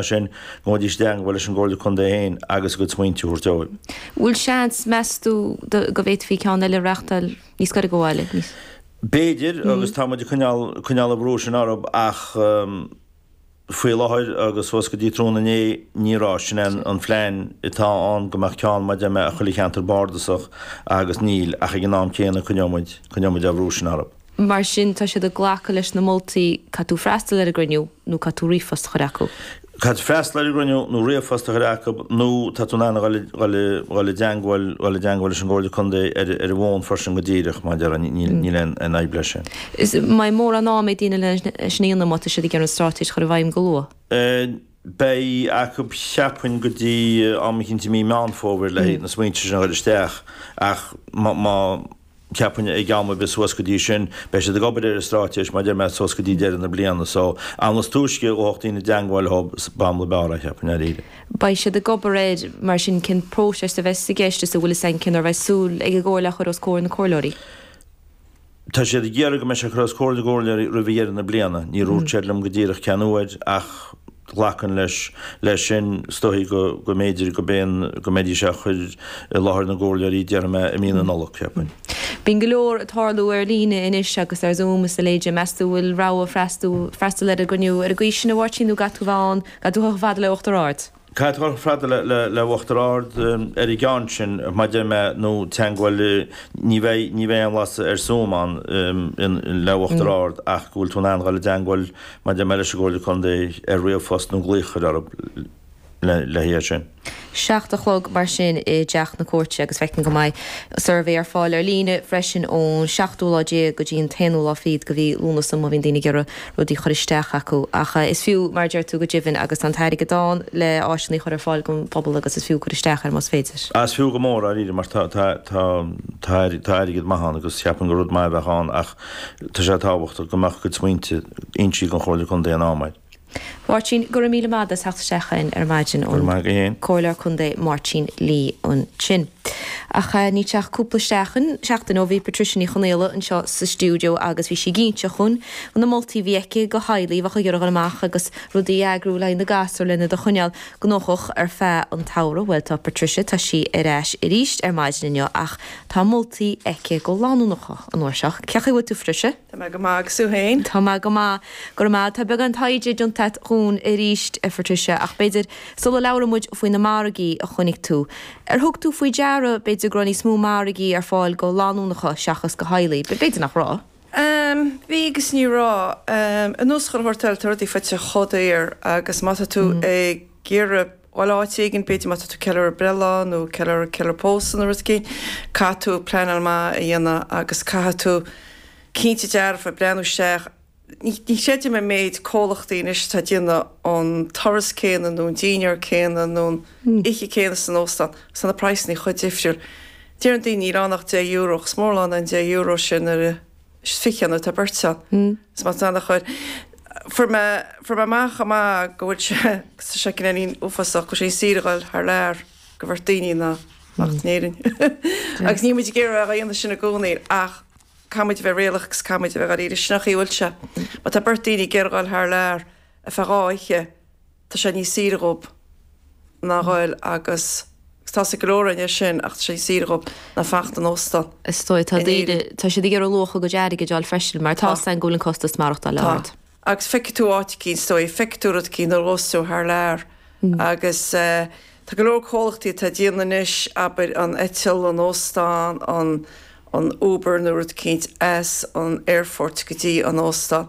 Sin, go ngabhaidís i dteangmháil leis an gComhairle Contae féin agus a gcuid smaointe a thabhairt dóibh. Bhfuil seans, meas tú, go bhféadfaí ceann eile a reáchtáil níos gaire do bhaile, níos. B'fhéidir, agus tá muid ag coinneáil, coinneáil an bhrú sin orthu ach faoi láthair agus suas go dtí tráthnóna inné, ní raibh. Sin é an phlean atá ann, go mbeadh ceann, mar a deir mé, i chuile cheantar bardasach agus níl, ach ag an am céanna coinneoidh muid, coinneoidh muid an bhrú sin orthu. Mar sin, tá siad ag glacadh leis na moltaí, caithfidh tú freastal ar an gcruinniú nó caithfidh tú ríomhphost a chur acu. Caithfidh tú freastal ar an gcruinniú nó ríomhphost a chur acu nó tá tú in ann a dhul i dteangmháil dhul i dteangmháil leis an gComhairle Contae ar ar an bhfón freisin go díreach, mar a déarfá, níl aon fhadhb leis sin. Is mbeidh mórán am ag daoine leis sin a dhéanamh má tá siad ag iarraidh an straitéis a chur i bhfeidhm go luath. Beidh acu, cheapfainn, go dtí am eicínt i mí Meán Fómhair le na smaointe sin a chur isteach ach má Cheapfainn ag am ar bith suas go dtí sin, beidh siad ag obair ar an straitéis, mar a deir mé, suas go dtí deireadh na bliana. So, an is túisce a ghabhfadh daoine i dteangmháil leo, b'amhlaidh b'fhearr é, cheapfainn, dáiríre. Beidh siad ag obair air, mar sin, cén próiseas a bheas i gceist is an bhfuil fhios a'inn cén uair a bheidh súil ag an gComhairle a chur os comhair na comhairleoirí? Tá siad ag iarraidh go mbeidh sé curtha os comhair na gcomhairleoirí roimh dheireadh na bliana. Níor dhúirt siad liom go díreach cén uair ach ghlacfainn leis leis sin, is dóichí go go mb'fhéidir go mb'é go mbeidís á chur i láthair na gcomhairleoirí, déarfaidh mé, i mí na Nollag, cheapfainn. Bíonn go leor ag tarlú ar líne anois agus ar Zoom is a leithéide. Meas tú bhfuil rogha freastal freastal ar an gcruinniú ar an gcaoi sin, a Mháirtín, nó gcaithfidh tú bheith ann, gcaithfidh tú dhul chomh fada le Uachtar Ard? Caithfidh tú dhul chomh fada le Uachtar Ard ar an gceann sin, mar a deir mé, nó teangmháil, ní bheidh, ní bheidh aon bhlas ar Zoom ann le Uachtar Ard ach go bhfuil tú in ann dhul i dteangmháil, mar a deir mé, leis an gComhairle Contae ar ríomhphost nó glaoch a chur orthu le haghaidh é sin. 7 a chlog mar sin i dTeach na Cúirte agus feicim go mbeidh suirbhé ar fáil ar líne freisin ón seachtú lá déag go dtí an t-aonú lá fichead de mhí Lúnasa má bhíonn daoine ag iarraidh rudaí a chur isteach acu. Ach is fiú, mar a deir tú, go deimhin agus tá an t-airgead ann le áiseanna a chur ar fáil don phobal agus is fiú cur isteach air más féidir. Is fiú go mór, dáiríre, mar tá tá tá tá airgead maith ann agus cheapfainn gur rud maith a bheadh ann ach tá sé tábhachtach go mbeadh a gcuid smaointe insithe don Chomhairle Contae in am air. Mháirtín, go raibh míle maith agat as theacht isteach chugainn ar maidin, an Comhairleoir Contae Máirtín Lee ansin. Ach níl sé ach cúpla seachtain, seachtain ó bhí Patricia Ní Chonaola anseo sa stiúideo agus bhí sí ag inse dhúinn na moltaí a bhí aici do theaghlaigh a bheadh ag iarraidh dul amach agus rudaí a eagrú le haghaidh na gasúr lena iad a choinneáil gnóthach ar feadh an tsamhraidh. Bhuel tá Patricia, tá sí ar ais arís ar maidin inniu ach tá moltaí aici do lánúineacha an uair seo. Cén chaoi a bhfuil tú Patricia? Tá mé go maith agus tú féin? Tá mé go maith. Go raibh maith. Tá beagán taighde déanta agat dhúinn arís, a Phatricia, ach b'fhéidir, sula labhraíonn muid faoi na margaí a chonaic tú, ar thug tú faoi deara, b'fhéidir, go raibh níos mó margaí ar fáil do lánúineacha seachas do theaghlaigh? B'fhéidir nach raibh. Bhí agus ní raibh. Anuas chuile shórt eile, tá rudaí faighte chomh daor agus má tá tú ag iarraidh dhul áit éigin, b'fhéidir má tá tú ag ceiliúradh breithlá nó ceiliúradh ceiliúradh pósadh nó rud éigin, caithfidh tú pleanáil maith a dhéanamh agus caithfidh tú cinnte dearfa breathnú isteach. Ní chreidim an méid comhlachtaí anois atá ag déanamh an turas céanna nó an dinnéar céanna nó an oíche céanna san óstán agus tá na praghsanna chomh difriúil. Deireann daoine níl ann ach €10 ach is mór an lán an €10 sin nuair a is 20 nuair atá beirt ann. Is má tá ana-chur. Fuair mé, fuair mé amach chomh maith go bhfuil sé, agus tá sé cineáilín uafásach, go bhfuil sé níos saoire a dhul thar lear do bheirt daoine ná fanacht in Éirinn. Agus níl muid ag iarraidh a dhéanamh sin i gcónaí ach caithfidh muid a bheith réalaíoch agus caithfidh muid a bheith dháiríre. Sin an chaoi a bhfuil sé. Má tá beirt daoine ag iarraidh a dhul thar lear ar feadh dhá oíche, tá sé níos saoire dhób ná dhul agus agus tá's ag go leor againn é sin ach tá sé níos saoire dhób ná fanacht in óstán Is dóigh, tá in daoine, Éirinn. tá siad ag iarraidh luach a gcuid airgid a fháil freisin mar tá Tá. 's againn go bhfuil an costas maireachtála Tá. ard. Agus feicfidh tú áit eicínt, is dóigh, feicfidh tú rud eicínt nuair a ghabhfas tú thar lear agus eh tá go leor comhlachtaí atá ag déanamh anois, abair an eitilt, an óstán, an an Uber nó rud eicínt as an aerfort go dtí an óstán.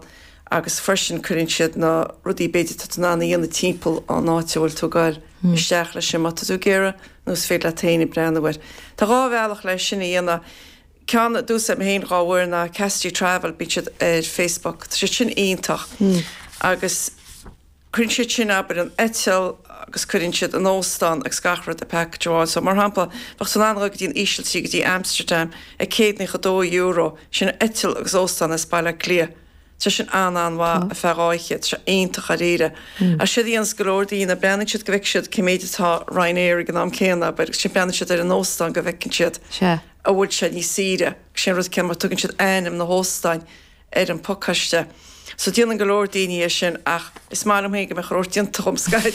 agus freisin cuireann siad na rudaí b'fhéidir atá tú in ann a dhéanamh timpeall an áit a bhfuil tú ag goil isteach leis sin má tá tú ag iarraidh nó is féidir leat féin ag breathnú air. Tá dhá bhealach leis sin a dhéanamh. Ceann a d'úsáid mé féin dhá uair ná Cassidy Travel, bíonn siad ar Facebook, tá siad sin iontach agus cuireann siad sin abair an eitilt agus cuireann siad an óstán agus gach rud i package amháin. So mar shampla bheadh tú in ann a dhul go dtí an Ísiltír go dtí Amsterdam ag €192, sin eitilt agus óstán as Baile Átha Cliath. Tá sin an-an-mhaith ar feadh dhá oíche, tá sé iontach dháiríre. Ach séard a dhéanas go leor daoine, breathnaíonn siad go bhfeicfidh siad cé méid atá Ryanair ag an am céanna, abair, agus ansin breathnaíonn siad ar an óstán go bhfeiceann siad an bhfuil sé níos saoire. Agus sin an rud céanna mar tugann siad ainm na hóstáin ar an phacáiste. So déanann go leor daoine é sin ach is maith liom féin go mbeadh an rud déanta dhom scaití.